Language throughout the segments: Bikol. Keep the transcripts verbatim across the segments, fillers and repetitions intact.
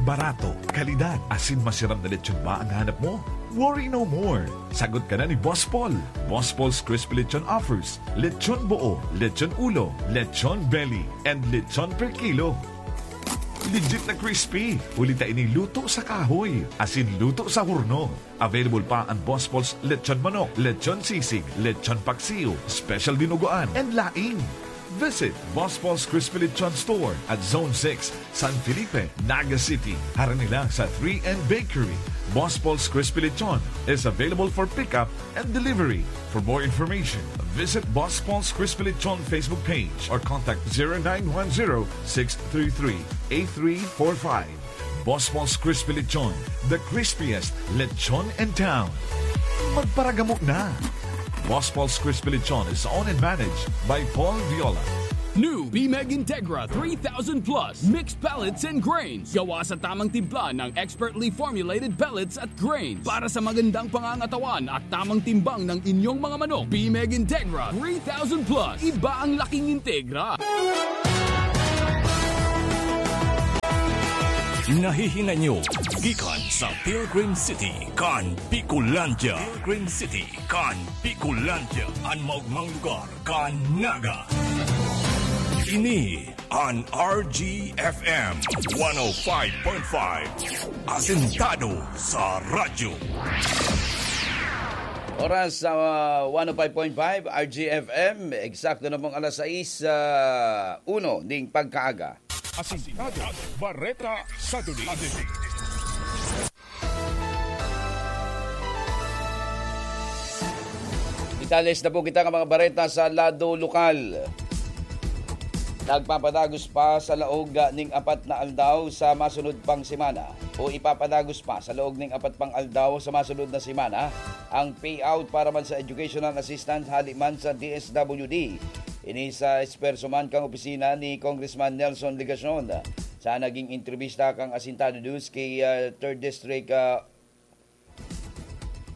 Barato, kalidad, asin masiram na lechon ba ang hanap mo? Worry no more! Sagot ka na ni Boss Paul. Boss Paul's Crispy Lechon offers lechon buo, lechon ulo, lechon belly, and lechon per kilo. Legit na crispy, huli ta ini luto sa kahoy, asin luto sa horno. Available pa ang Boss Paul's Lechon Manok, Lechon Sisig, Lechon Paksiw, Special Dinuguan, and laing. Visit Boss Paul's Crispy Lechon Store at Zone six, San Felipe, Naga City. Harani lang sa three N Bakery. Boss Paul's Crispy Lechon is available for pickup and delivery. For more information, visit Boss Paul's Crispy Lechon Facebook page or contact zero nine one zero, six three three, eight three four five. Boss Paul's Crispy Lechon, the crispiest lechon in town. Magparagamo na! Boss Paul's Crispy Lechon is owned and managed by Paul Viola. New Bimeg Integra three thousand Plus Mixed Pellets and Grains. Gawa sa tamang timpla ng expertly formulated pellets at grains. Para sa magandang pangangatawan at tamang timbang ng inyong mga manok, Bimeg Integra three thousand Plus. Iba ang laking Integra. Nahihinay nyo gikan sa Pilgrim City kan Bicolandia. Pilgrim City kan Bicolandia, an maogmang lugar kan Naga. Ini an R G F M one oh five point five, asentado sa radyo. Oras sa, ah, one oh five point five R G F M, eksakto na pong alas sais, ah, uno ning pagkaaga. Asintado, bareta sa Duli. Detalles na po kita ng mga bareta sa lado lokal. Nagpapadagos pa sa laog ning apat na aldaw sa masunod pang semana, o ipapadagos pa sa laog ning apat pang aldaw sa masunod na semana ang payout para man sa educational assistance hali man sa D S W D. Ini sa esperso man kan opisina ni Congressman Nelson Legacion sa naging entrebista kan Asintado News ki, ah, Third District, ah,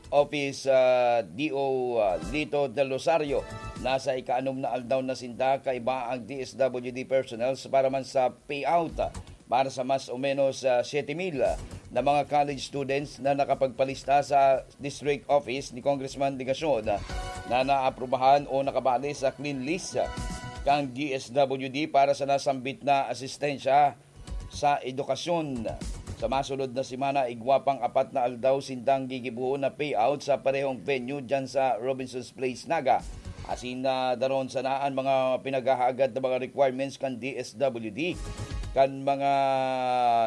Office, ah, D O, ah, Lito Del Rosario. Nasa ikaanom na aldaw na sinda kaiba ang D S W D personnel para man sa payout, ah, para sa mas o menos, ah, siyete mil, ah, na mga college students na nakapagpalista sa district office ni Congressman Legacion, ah, na naaprubahan o nakabali sa clean list, ah, kan D S W D para sa nasambit na asistensya sa edukasyon. Sa masunod na semana, igwa pang apat na aldaw sindang gigibohon na payout sa parehong venue diyan sa Robinson's Place, Naga. Asin na daron sana an mga pinaghahagad na mga requirements kan D S W D, kan mga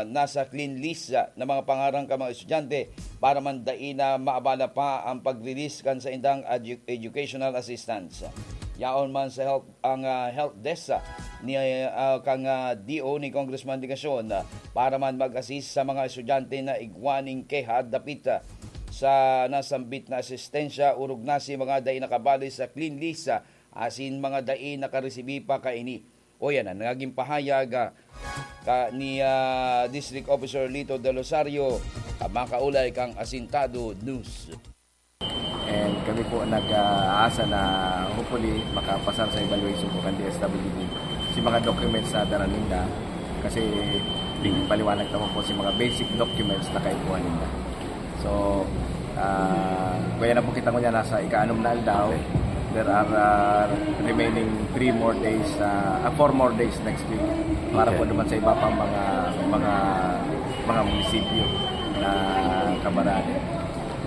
nasa clean list na mga pangaran kan mga estudyante para man dai na maabala pa ang pag-release kan saindang edu-, educational assistance. Yaon man sa health ang, ah, help desk, ah, ni, ah, kang, ah, D O ni Congressman Legacion, ah, para man mag-assist sa mga estudyante na igwa ning keha dapit, ah, sa nasambit na asistensya, orog na si mga dai nakabali sa clean list, ah, asin mga dai nakaresibi pa kaini. O yan ang naging pahayag, ah, ka, ni, ah, District Officer Lito Del Rosario, ah, makaulay kang Asintado News. And kami po nag-aasa na hopefully makapasar sa evaluation po kan D S W D si mga documents na dara ninda. Kasi paliwanag naman po si mga basic documents na kaipuhan ninda. So, ah, kaya na po kita ngunyan nasa ika-anom na aldaw. There are, ah, remaining three more days, ah, ah, four more days next week para po Okay. naman sa iba pang mga, mga, mga munisipyo na kabarali.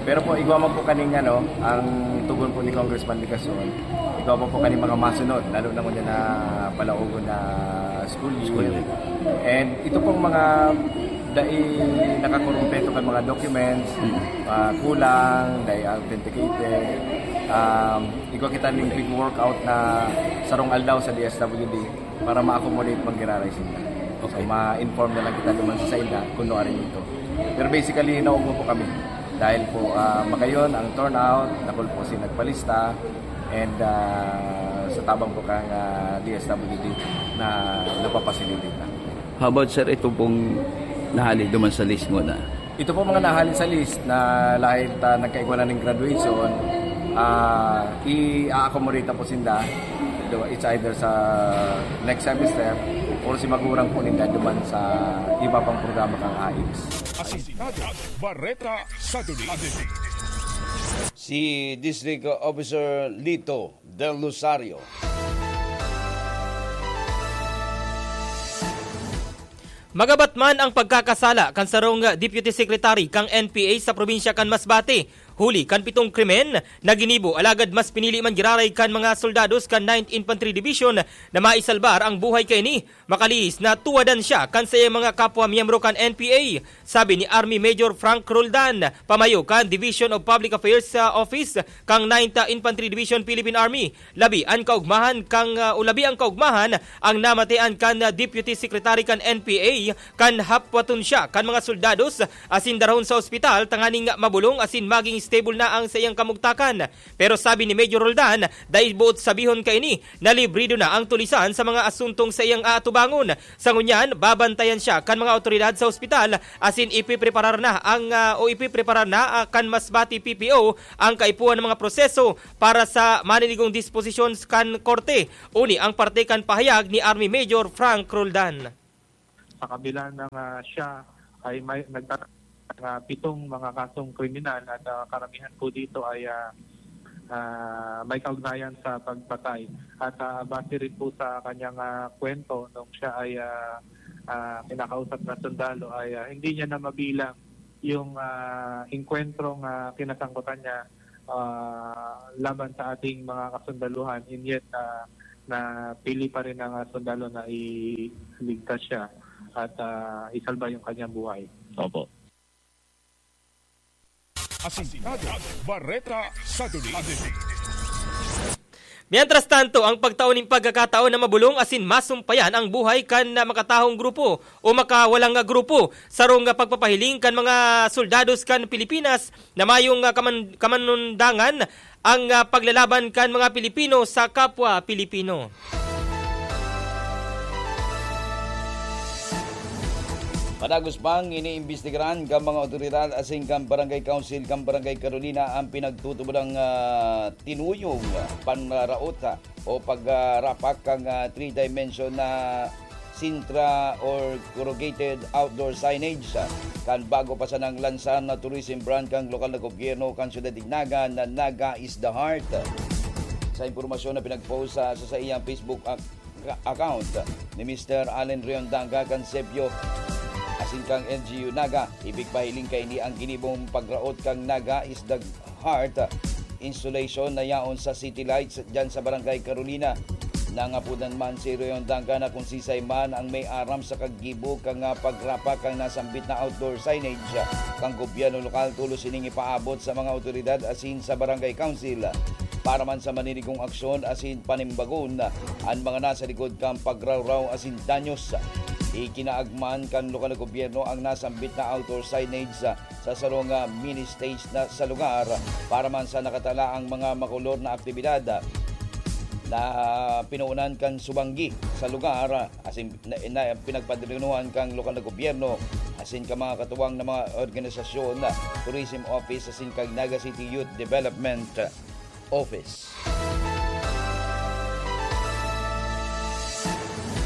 Pero po, igwa man po kaning ano, ang tugon po ni Congressman Legacion, igwa man po kaning mga masunod, lalo na ngunyan na palaogon na school year. School year. And ito pong mga dai nakakurumpleto kan mga documents, Mm. ah, kulang, dai authenticated, um, igwa kita ning big workout na sarong aldaw sa D S W D para ma-accommodate man giraray sila. So, Okay. ma-inform na lang kita duman sa saila kung ano ari ito. Pero basically, naugmo po kami. Dahil po, ah, magayon ang turnout, dakul po si nagpalista, and, ah, sa tabang po kang, ah, D S W D na napapasilitate na. How about, sir, ito pong nahali duman sa list mo na? Ito po mga nahali sa list na lahit, ah, nagkaigwa na ng graduation, ah, i-accommodate na po sinda. Do-, it's either sa next semester Or si magurang po ninda duman sa iba pang programa kang A I C S. Asintado, Bareta sa Dulig. Si District Officer Lito Del Rosario. Magabat man ang pagkakasala kan sarong Deputy Secretary kang N P A sa probinsya kan Masbate, huli kan pitong krimen na ginibo, alagad mas pinili man giraray kan mga soldados kan Ninth Infantry Division na maisalbar ang buhay kaini. Makalihis na tuwadan siya kan saiyang mga kapwa miyembro kan N P A, sabi ni Army Major Frank Roldan, pamayo kan Division of Public Affairs sa Office kan Ninth Infantry Division Philippine Army. Labi an kaugmahan kang, ah, o labi ang kaugmahan ang namatean kan, ah, Deputy Secretary kan N P A kan hapwaton siya kan mga soldados asin darahon sa ospital tanganing mabolong asin maging stable na ang saiyang kamugtakan. Pero sabi ni Major Roldan, dai boot sabihon kaini na librido na ang tulisan sa mga asuntong saiyang aatubangon. Sa ngunyan, babantayan siya kan mga awtoridad sa ospital asin ipipreparar na ang, ah, o ipipreparar na, ah, kan Masbate P P O ang kaipuhan ng mga proseso para sa maninigong disposisyon kan korte. Uni ang parte kan pahayag ni Army Major Frank Roldan. Sa kabila ng, ah, siya ay may nagta-, ng, ah, pitong mga kasong kriminal at, ah, karamihan po dito ay, ah, ah, may kaugnayan sa pagpatay. At, ah, base rin po sa kanyang, ah, kwento nung siya ay, ah, ah, kinakausap na sundalo ay, ah, hindi niya na mabilang yung, ah, engkwentrong, ah, kinasangkutan niya, ah, laban sa ating mga kasundaluhan, and yet, ah, napili pa rin ng, ah, sundalo na iligtas siya at, ah, isalba yung kanyang buhay. Opo. Asintado, Bareta sa Dulig. Mientras tanto, ang pagtao nin pagkakataon na mabolong asin masumpayan ang buhay kan, ah, makatahong grupo o makawalang, ah, grupo, sarong, ah, pagpapahiling kan mga soldados kan Pilipinas na mayong, ah, kaman-, kamanundangan ang, ah, paglalaban kan mga Pilipino sa kapwa Pilipino. Padagos pang iniimbestigaran kan mga awtoridad asin kan Barangay Council kan Barangay Carolina ang pinagtutubodang, ah, tinuyong panraraot, ah, o pagrapak kan, ah, three-dimension na Sintra or corrugated outdoor signage, ah, kan bago pa sanang lansar na tourism brand kan lokal na gobyerno kan Syudad nin Naga na Naga is the Heart. Sa impormasyon na pinag-post sa, sa saiyang Facebook ac-, account ni Mister Allen Riondaga kan Sepio asin kan L G U Naga, ipigpahiling kaini ang ginibong pagraot kan Naga is the Heart Installation na yaon sa City Lights diyan sa Barangay Carolina. Nangapodan man si Rayon Dangga na kung sisay man ang may aram sa kaggibo kan, ah, pagrapak kan nasambit na outdoor signage kan gobyerno lokal, tolos ining ipaabot sa mga awtoridad asin sa barangay council. Para man sa maninigong aksyon asin panimbagon an mga nasa likod kan pagrawraw asin danyos. Ikinaagman kan lokal na gobyerno ang nasambit na outdoor signage sa sarong, ah, mini stage na sa lugar para man sa nakatalaang mga makolor na aktibidad, ah, na pinoonan kan subanggi sa lugar, ah, asin na, na pinagpadrinuhan kan lokal na gobyerno, asin kan mga katuwang na mga organisasyon, ah, Tourism Office, asin kan Naga City Youth Development Office.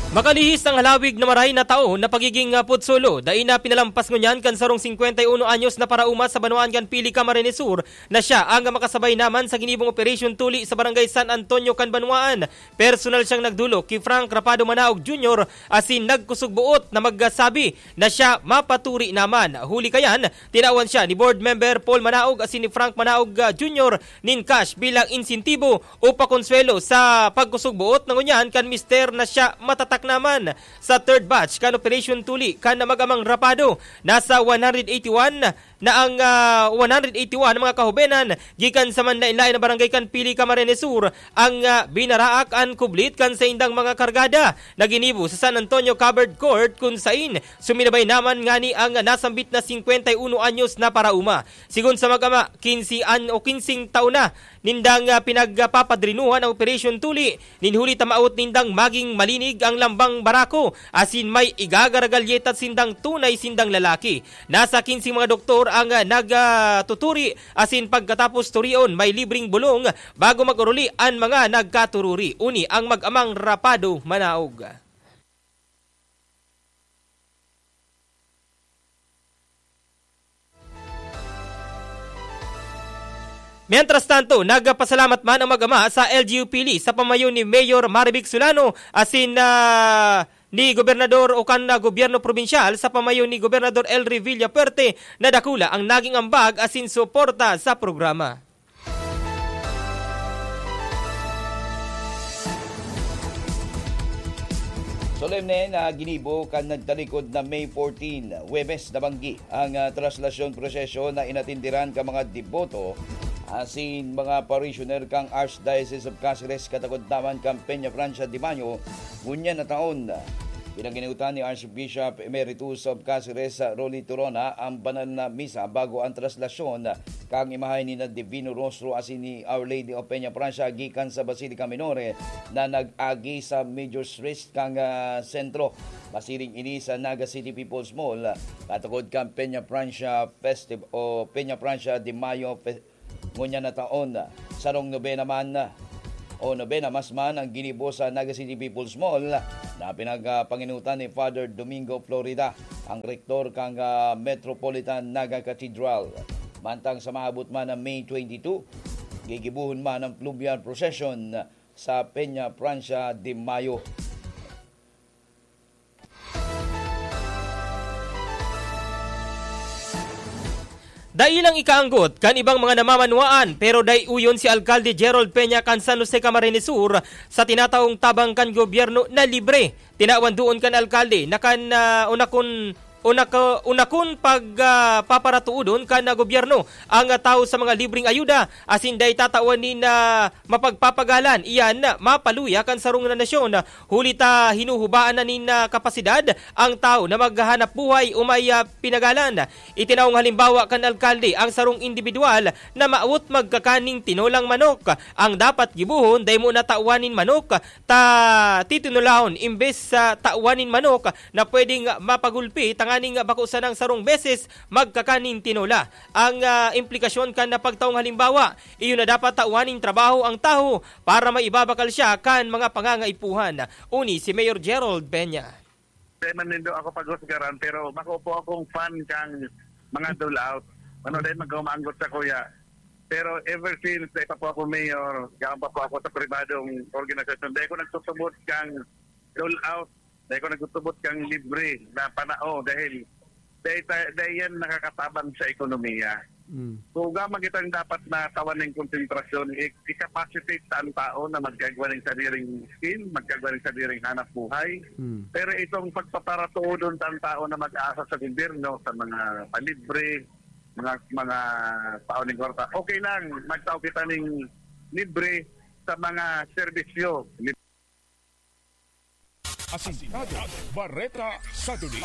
Makalihis ang halawig na maray na taon na pagiging, ah, putsulo. Dai na pinalampas ngunyan kan sarong singkwenta y uno anyos na paraoma sa banwaan kan Pili, Camarines Sur na siya ang makasabay naman sa ginibong operasyon tuli sa Barangay San Antonio kan banwaan. Personal siyang nagdolok ki Frank Rapado Manaog Junior asin nagkusog buot na magsabi na siya mapaturi naman. Huli kayan, tinawan siya ni Board Member Paul Manaog asin ni Frank Manaog, ah, Junior nin cash bilang insentibo o pakonswelo sa pagkusog buot na ngunyan kan mister na siya matatak naman. Sa third batch kan operasyon tuli kan mag-amang Rapado, nasa one hundred eighty-one na ang, ah, one hundred eighty-one na mga kahobenan gikan sa manlaen-laen na barangay kan Pili, Camarines Sur ang, ah, binaraak an kublit kan saindang mga kargada na ginibo sa San Antonio Covered Court, kun sain suminabay naman ngani ang nasambit na singkwenta y uno anyos na paraoma. Sigon sa mag-ama, kinse an-, o kinseng taon na nindang, ah, pinagpapadrinuhan ang operasyon tuli, nin huli ta maawot nindang maging malinig ang lambang barako, asin may igagaragalyetat sindang tunay sindang lalaki. Nasa kinseng mga doktor ang, ah, nag, ah, tuturi, asin pagkatapos turion, may libreng bulong bago mag-oruli an mga nagkatururi. Uni ang mag-amang Rapado Manaog. Mientras tanto, nagpasalamat man ang mag-ama sa L G U Pili sa pamayo ni Mayor Marivic Solano asin, ah, ni Gobernador o kan, ah, gobyerno probinsyal sa pamayo ni Gobernador Elry Villafuerte na dakula ang naging ambag asin suporta sa programa. Solemne na ginibo kan nagtalikod na May fourteen, Huwebes na banggi, ang, ah, traslasyon prosesyon na inatindiran ka mga deboto asin mga parishioner kan Archdiocese of Caceres, katakodtaman kan Peña Francia de Mayo, ngunyan na taon. Pinaginiutan ni Archbishop Emeritus of Caceres, Rolly Torona, ang banal na misa bago ang traslasyon kan imahe ni na Divino Rostro asin ni Our Lady of Peña Francia gikan sa Basilica Minore na nag-agi sa major street kan, ah, sentro. Masiring ini sa Naga City People's Mall, katukod kan Peña Francia Festival o Peña Francia de Mayo Fe-, ngunyan na taon. Sarong nobena man o nobena mas man ang ginibo sa Naga City People's Mall na pinagpanginutan ni Father Domingo Florida, ang rektor kan, ah, Metropolitan Naga Cathedral. Mantang sa maabot man na May twenty-two, gigibuhon man ang fluvial procession sa Peña Francia de Mayo. Dai lang ikaanggot kan ibang mga namamanwaan, pero dai uyon si Alkalde Gerald Peña kan San Jose, Camarines Sur, sa tinataong tabang kan gobyerno na libre. Tinawan doon kan alkalde na kan, ah, unakon, unako-, unakon pag, ah, paparatuodon kan, ah, gobyerno ang, ah, tawo sa mga libreng ayuda, asin dai tatawan nin, ah, mapagpapagalan iyan mapaluya kan sarong na nasyon. Huli ta hinuhubaan na nin, ah, kapasidad ang tawo na maghanap buhay o may, ah, pinagalan. Itinaong halimbawa kan alkalde ang sarong indibidwal na maawot magkakan nin tinolang manok. Ang dapat gibohon, dai mo na tawan nin manok, ta titinolahon imbes sa tawan nin manok na pwedeng mapagulpi tanganing bako sanang sarong beses magkakan nin tinola. Ang, ah, implikasyon kan pagtaong halimbawa, iyo na dapat tawan nin trabaho ang tawo para maibabakal siya kan mga pangangaipuhan. Uni si Mayor Gerald Peña. Dai man nindo ako paghusgaran, pero bako po akong fan kang mga dole out. Ano, dai magkaumanggot sa kuya. Pero ever since, dai pa po ako mayor, yaon pa po ako sa pribadong organisasyon. Dai ko nagtutubod kang dole out. Dai ko nagtutubod kang libre na panao dahil dai ta-, dai yan nakakatabang sa ekonomiya. Mm. So, gamang kitang dapat na tawan ning konsentrasyon, i-, i-capacitate ta an tao na magkaigwa ning sadiring skill, magkaigwa ning sadiring hanap buhay. Mm. Pero itong pagpaparatuodon ta an tao na mag-aasa sa gobyerno, sa mga palibre, mga, mga tao ning kwarta, okay lang, magtao kita ning libre sa mga serbisyo. Asintado, Bareta sa Duli.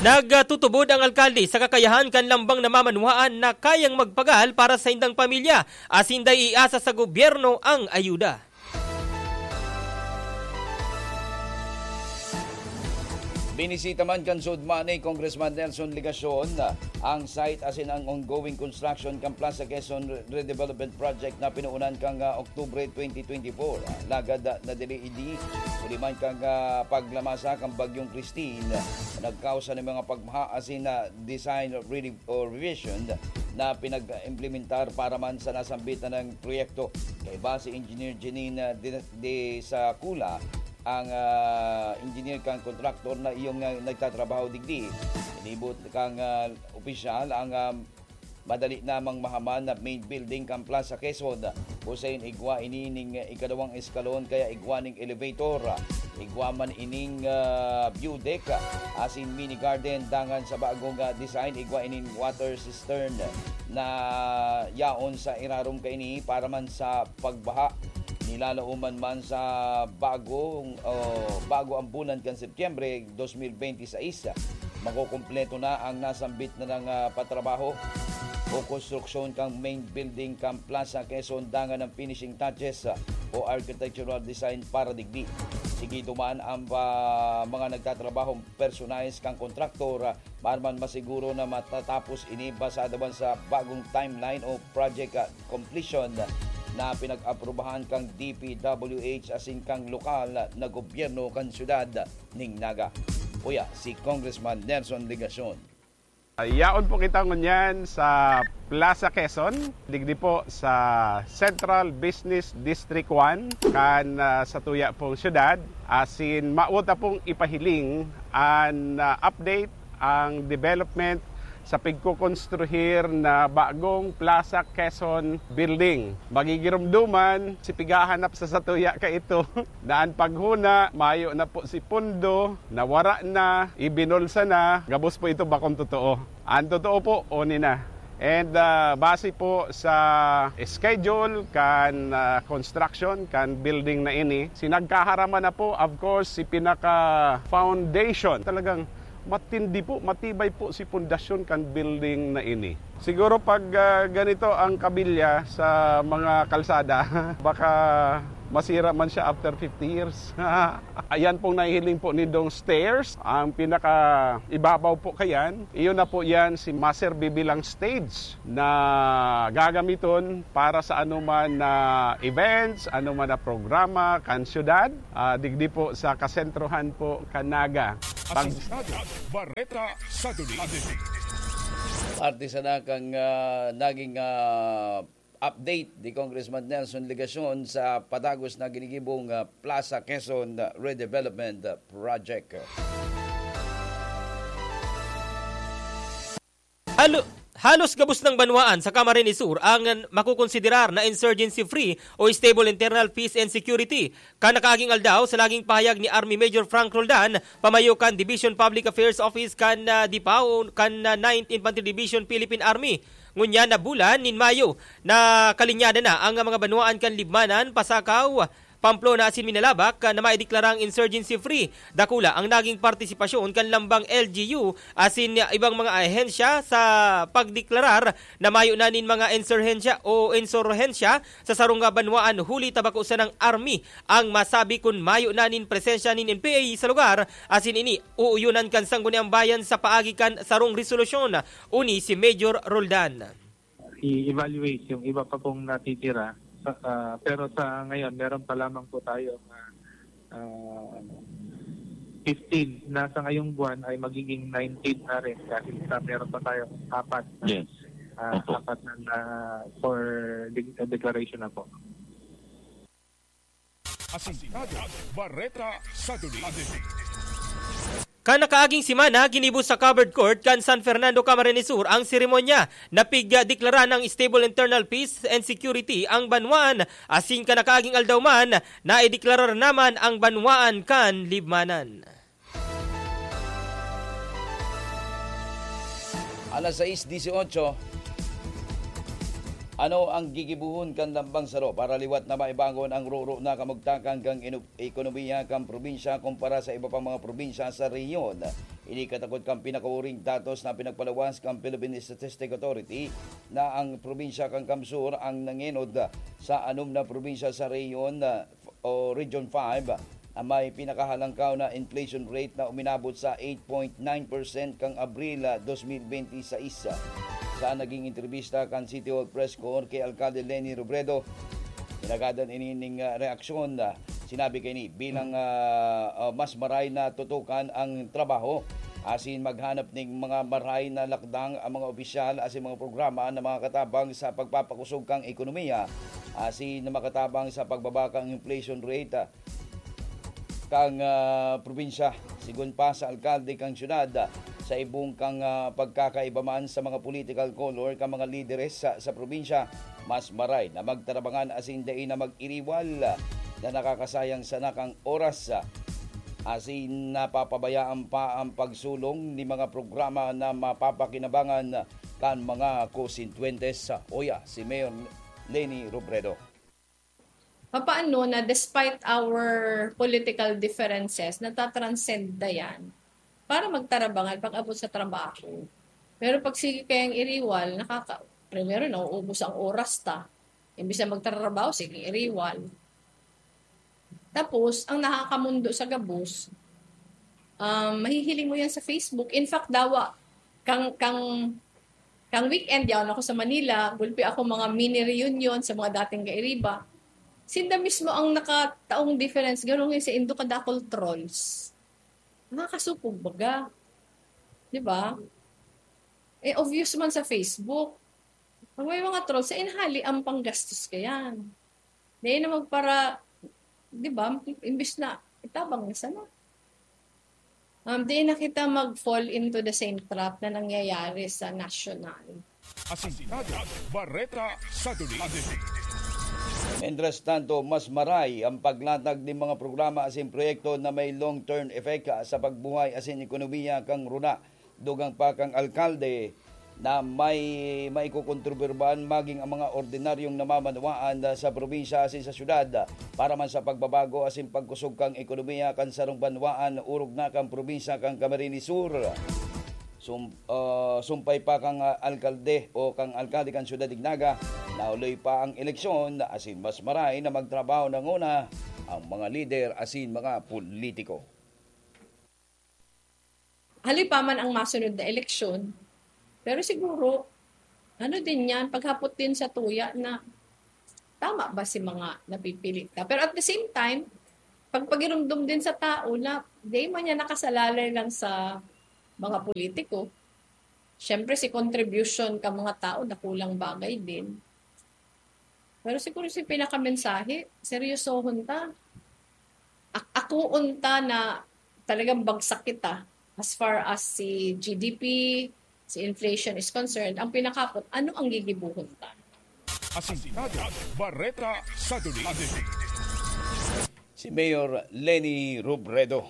Nagtutubod ang alkalde sa kakayahan kan lambang namamanwaan na kayang magpagal para sa indang pamilya, asin dai iasa sa gobyerno ang ayuda. Binisita man kan SODMA ni Congressman Nelson Legacion ang site asin ang ongoing construction kan Plaza Quezon Redevelopment Project na pinoonan kan, ah, Oktubre twenty twenty-four. Lagad, ah, na dili idi, huli man kan, ah, paglamasa kan Bagyong Christine, nagkausa nin mga pagbaha asin, ah, design revi-, o revision na pinag-implementar para man sa nasambit na ng proyekto. Kaiba si Engineer Janine, ah, de, de sa Kula, ang, ah, engineer kan kontraktor na iyong, ah, nagtatrabaho digdi. Inibot kang, ah, opisyal ang, ah, madali namang mahaman na main building kan Plaza Quezon. Usayon igwa ini ning ikadawang eskalon kaya igwa ning elevator. Igwa man ining, ah, view deck, asin mini garden dangan sa bagong, ah, design, igwa ining water cistern na yaon sa irarom kaini para man sa pagbaha. Nilalaoman man sa bagong, o, bago ang bulan kan Setyembre dos mil benti sais, makukumpleto na ang nasambit na ng, ah, patrabaho o konstruksyon kan main building kan Plaza Quezon dangan ang finishing touches, ah, o architectural design para digdi. Sigido man ang, ah, mga nagtatrabahong personalis kan kontraktor, ah, para man masiguro na matatapos ini basado man sa bagong timeline o project, ah, completion na pinag-aprubahan kan D P W H asin kan lokal na gobyerno kan siyudad ning Naga. Uya, si Congressman Nelson Legacion. Yaon po kita ngunyan sa Plaza Quezon, digdi po sa Central Business District one, kan, ah, sa tuya pong syudad. Asin, mawot na pong ipahiling an, ah, update, ang development sa pigkukonstruhir na bagong Plaza Quezon Building. Magigiromdoman, si pigahanap sa satuya kaito, na an paghuna, mayo na po si pundo, nawara na, ibinulsa na, gabos po ito bakong totoo. Ang totoo po, oni na. And, ah, base po sa schedule kan, ah, construction kan building na ini, sinagkaharaman na po, of course, si pinaka foundation. Talagang matindi po, matibay po si pundasyon kan building na ini. Siguro pag, ah, ganito ang kabilya sa mga kalsada, baka masira man siya after fifty years. Ayan pong nahihiling po nindong stairs. Ang pinaka ibabaw po kayan, iyon na po yan si maserbi bilang stage na gagamiton para sa anuman na events, anuman na programa kan syudad, ah, digdi po sa kasentrohan po kan Naga. Pag- Asintado, Bareta, Saduli. Parte sana kang, ah, naging, ah, update ni Congressman Nelson Legacion sa padagos na ginigibong, ah, Plaza Quezon Redevelopment Project. Halo-, halos gabos ng banwaan sa Camarines Sur ang makukonsiderar na insurgency-free o stable internal peace and security. Kan nakaaging aldaw, sa naging pahayag ni Army Major Frank Roldan, pamayo kan Division Public Affairs Office kan, ah, DIPAO, kan, ah, Ninth Infantry Division Philippine Army, ngunyan na bulan nin Mayo, nakalinyada na ang mga banwaan kan Libmanan, Pasacao, Pamplona asin Minalabac, ah, na maideklarang insurgency-free. Dakula ang naging partisipasyon kan lambang L G U asin, ah, ibang mga ahensya sa pagdeklarar na mayo na nin mga insurhensya o insurhensya sa sarong, ah, banwaan, huli ta bako sanang army ang masabi kun mayo na nin presensya nin N P A sa lugar, asin ini uuyonan kan Sangguniang Bayan sa paagi kan sarong resolusyon, uni si Major Roldan. I-evaluate yung iba pa pong natitira. Sa, ah, pero sa ngayon, meron pa lamang po tayo na, ah, fifteen. Na sa ngayong buwan ay magiging nineteen na rin dahil sa meron pa tayong apat na, Yes. ah, Opo. apat na, na for de-, declaration na po. Asintado, Bareta, Saduli. Kan nakaaging semana, ginibo sa covered court kan San Fernando, Camarines Sur ang seremonya na pigdeklaran ng stable internal peace and security ang banwaan, asin kan nakaaging aldaw man, naideklarar naman ang banwaan kan Libmanan. Alas sais dieciocho, ano ang gigibohon kan lambang saro para liwat na maibangon ang roro na kamugtakan kan inu-, ekonomiya kan probinsya kumpara sa iba pang mga probinsya sa rehiyon? Ini katakod kan pinakauring datos na pinagpalawas kan Philippine Statistics Authority na ang probinsya kan Kamsur ang nangenod sa anom na probinsya sa rehiyon, o Region five, na may pinakahalangkaw na inflation rate na uminabot sa eight point nine percent kan Abril, ah, dos mil benti sais. Sa naging entrebista kan City Hall Press Corps kay Alkalde Leni Robredo, inagadan ini ning, ah, reaksyon. Ah, sinabi kaini bilang, ah, ah, mas maray na tutukan ang trabaho asin maghanap ning mga maray na lakdang ang mga opisyal asin mga programa na makatabang sa pagpapakosog kan ekonomiya asin makatabang sa pagbaba kan inflation rate, ah, kan, ah, probinsya. Sigon pa sa alkalde kan syudad, ah, sa ibong kan, ah, pagkakaiba man sa mga political color kan mga lideres sa, sa probinsya, mas maray na magtarabangan asin dai na mag-iriwal, ah, na nakakasayang sana kan oras, ah, asin napapabayaan pa ang pagsulong ni mga programa na mapapakinabangan kan mga konsitwentes. Uya si Mayor Leni Robredo. Papaano na despite our political differences, natatranscend na yan para magtarabangan pag-abot sa trabaho? Pero pag sige kayang iriwal, nakaka-, primero, nauubos ang oras ta. Imbis na magtatrabaho, sige, iriwal. Tapos, ang nakakamundo sa gabos, um, mahihiling mo yan sa Facebook. In fact, dawa, kang, kang, kang weekend, yaon ako sa Manila, gulpi ako mga mini reunion sa mga dating kairiba. Sinda mismo ang nakataong difference, ganun yung sa Indo kadakol trolls. Nakakasupog baga. Di ba? Eh, obvious man sa Facebook. Pag may mga trolls, sa inhali ang panggastos ka yan. Di na magpara, di ba? Imbis na itabang na sana. Um, di na kita mag-fall into the same trap na nangyayari sa national. Asintado, Bareta, Saturday. Mientras tanto, mas maray ang paglatag nin mga programa asin proyekto na may long-term effect sa pagbuhay asin ekonomiya kan runa. Dugang pa kan alkalde na may maikokontribuir man magin ang mga ordinaryong namamanwaan sa probinsya asin sa syudad para man sa pagbabago asin pagkusog kan ekonomiya kan sarong banwaan orog na kan probinsya kan Camarines Sur. Sum-, ah, sumpay pa kan, ah, alkalde o kan alkalde kan Syudad de Naga, nahuloy pa ang eleksyon asin mas maray na magtrabaho nanguna ang mga lider asin mga politiko. Hali pa man ang masunod na eleksyon, pero siguro, ano din yan, paghapot din sa tuya na tama ba si mga napipili ta? Pero at the same time, pagpagirumdom din sa tao na di man niya nakasalalay lang sa mga politiko. Siyempre, si contribution ka mga tao, dakulang bagay din. Pero siguro si pinakamensahe, seryosohon ta. Ak- akuon ta na talagang bagsak kita as far as si G D P, si inflation is concerned. Ang pinakapot, ano ang gigibuhon ta? Asintado, Bareta, Saturday. Si Mayor Leni Robredo.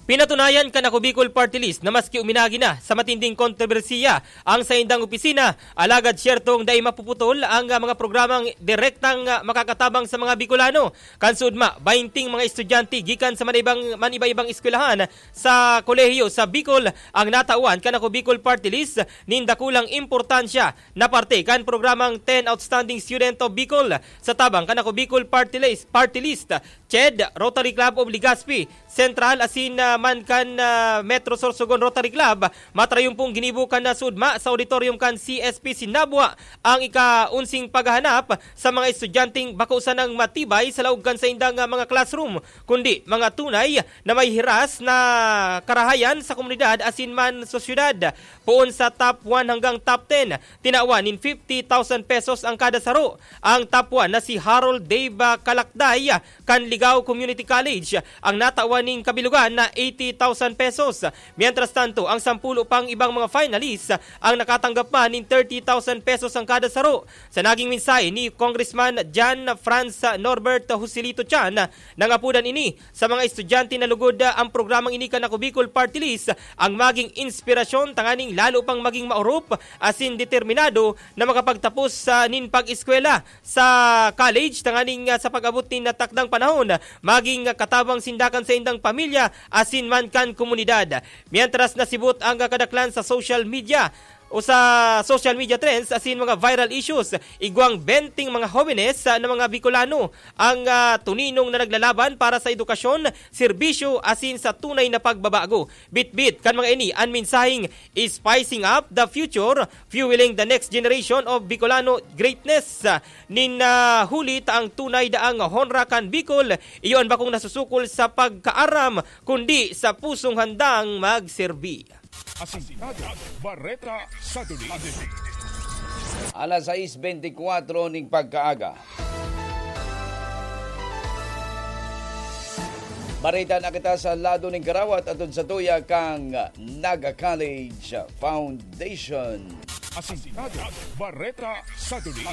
Pinatunayan kan Ako Bicol Party List na maski uminagi na sa matinding kontrobersiya ang saindang opisina, alagad siyertong dai mapuputol ang, ah, mga programang direktang, ah, makakatabang sa mga Bicolano. Kan suudma, baynting mga estudyante gikan sa maniba-, maniba-ibang eskwelahan sa kolehiyo sa Bicol ang natawan kan Ako Bicol Party List nin dakulang importansya na parte kan programang Ten Outstanding Student of Bicol sa tabang kan Ako Bicol Party List, Party List, CHED, Rotary Club of Legazpi Central asin, ah, man kan, ah, Metro Sorsogon Rotary Club. Matrayumpong ginibo kan, ah, suudma sa auditorium kan C S P Sinabwa ang ika-unsing paghahanap sa mga estudyanteng bako sanang matibay sa laog kan saindang, ah, mga classroom, kundi mga tunay na may hiras na karahayan sa komunidad asin man sa syudad. Poon sa top one hanggang top ten, tinawan nin fifty thousand pesos ang kada saro. Ang top one na si Harold Dave, ah, Kalakday, ah, kan Ligao Community College, ang natawan nin kabilugan na eighty thousand pesos. Mientras tanto, ang sampulo pang ibang mga finalists ang nakatanggap man nin thirty thousand pesos ang kada saro. Sa naging mensahe ni Congressman John Franz Norbert Joselito Chan, nangapodan ini sa mga estudyante na lugod, ah, ang programang ini kan Ako Bicol Party List ang maging inspirasyon tanganing lalo pang maging maorop asin determinado na makapagtapos, ah, nin pag-eskwela sa college tanganing, ah, sa pag-abot nin natakdang panahon, maging, ah, katabang sinda kan saindang pamilya asin man kan komunidad. Mientras nasibot ang, ah, kadaklan sa social media, o sa social media trends asin mga viral issues, igwang benteng mga hobenes, ah, na mga Bicolano ang, ah, tuninong na naglalaban para sa edukasyon, serbisyo asin sa tunay na pagbabago. Bitbit kan mga ini an mensaheng "Spicing up the future, fueling the next generation of Bicolano greatness." Nin, ah, huli ta ang tunay daang honra kan Bicol, iyo an bakong nasusukol sa pagkaaram, kundi sa pusong handang magserbi. Asintado, Bareta, Saturday. Alas sais bentikwatro ning pagkaaga. Bareta na kita sa lado ning karawat atod sa tuya kang Naga College Foundation. Asintado, Bareta, Saturday.